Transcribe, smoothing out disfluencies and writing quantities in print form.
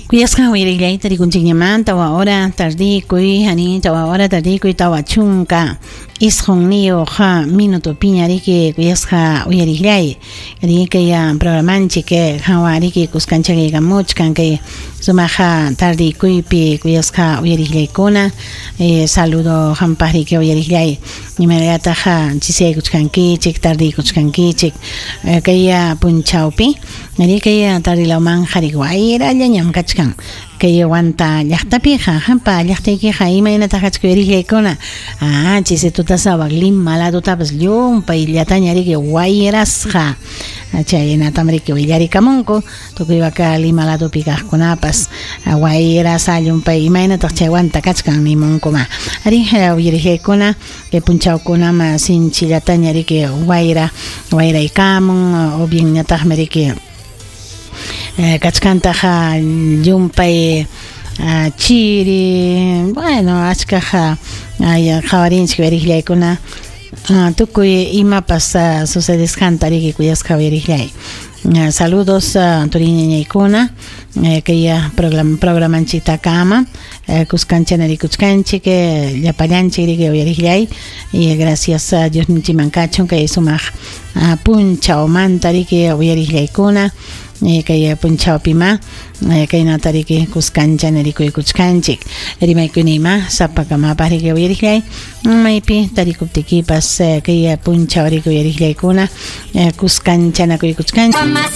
Kuyasqa uyariqllayta rikunchikñamanta 4 hora tardikuy, ani 4 hora tardikuy 49 minutopiña riki kuyasqa uyariqllay. Riki kay programanchik hawa riki kuskanchaykamuchkan kay sumaqa tardikuypi kuyasqa uyariqllaykuna. Saludo hampaq riki uyariqllay. Imaynallataq chisiyaykuchkankichik, tardiykuchkankichik kay punchawpi. Riki tardilawman qhari wayrallañam kachkan. Kay Huanta llaqtapiqa, hampa llaqtaykiqa imaynataq kachkan uyariqllaykuna. Ah, chisi tutasawaq Lima ladutapas llumpay llataña riki wayrasqa. Chaynatam riki willarikamunku tukuy waka Lima ladupi kaqkunapas wayrasa llumpay imaynataq chay Huanta kachkan nimunkuma. Ari uyariqllaykuna kay punchawkunama sinchillataña riki wayra wayraykamun o bien ñataqmi riki kachkantaqa llumpay chiri, bueno, achkaqa qhawarinchik uyariqllaykuna tukuy imapas sucedesqanta riki kuyasqa uyariqllay. Saludos turiñañaykuna kay programanchiktakama kuskanchana rikuchkanchik llapallanchik riki uyariqllay y gracias a Diosninchikman kachun kay sumaq punchawmanta riki uyariqllaykuna kay punchawpima kaynata riki kuskanchana rikuykuchkanchik rimaykunima sapakamapaq riki uyariqllay maypi tarikuptikipas kay punchaw riki uyariqllaykuna kuskanchanakuykuchkanchik.